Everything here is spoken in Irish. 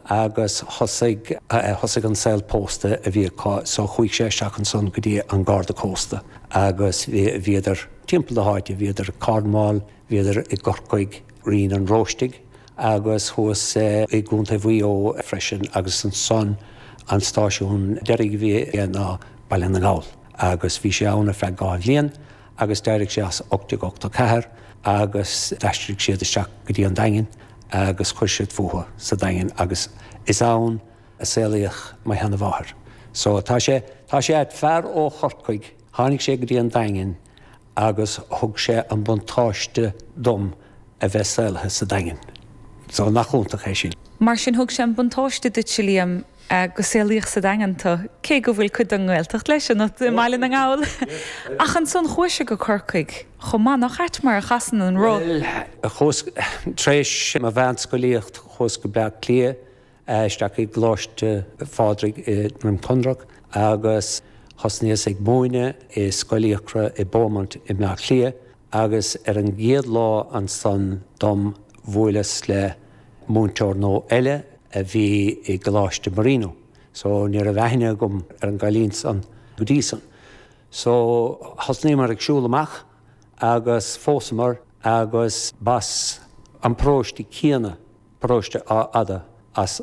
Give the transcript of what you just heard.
Agus thosaigh, thosaigh an saol pósta a bhí acu so chuaigh sé isteach ansan go dtí an Garda Cósta agus bhíodar timpeall na háite, bhíodar i Cornwall, bhíodar i gCorcaigh, Rinn an Róistigh agus thuas i gContae Mhaigh Eo freisin agus ansan an stáisiún deiridh a bhí aige ná Baile na nGall agus bhí sé ann ar feadh 2 bhliain agus d'éirigh sé as 1884 agus d'aistrigh siad isteach go dtí an Daingean agus chuir siad fúthu sa Daingean agus is ann a saolaíodh mo sheanamháthair. So tá sé, tá sé ait, fear ó Chorcaigh, tháinig sé go dtí an Daingean agus thug sé an buntáiste dom a bheith saolaithe sa Daingean. So nach iontach é sin. Mar sin thug sé an buntáiste duitse, Liam, go saolaíodh sa Daingean tú, cé go bhfuil cuid den nGaeltacht leis ionat i mBaile na nGall. Ach ansan chuais go Corcaigh chomh maith, nach ait mar a chasann an roth? Bhuel, chuas, tar éis mo mheánscolaíocht, chuas go Bleá Cliath, isteach i gColáiste Phádraig i nDroim Conrach agus thosnaíos ag múineadh i Scoil Fhiachra i Beaumont i mBleá Cliath agus ar an gcéad lá ansan dom bhuaileas le múinteoir nua eile a bhí i gColáiste Marino. So ní raibh aithne agam ar an gcailín san go dtí san. So thosnaíomar ag siúl amach agus phósamar agus b'as an paróiste céanna, paróiste Áth Fhada, as.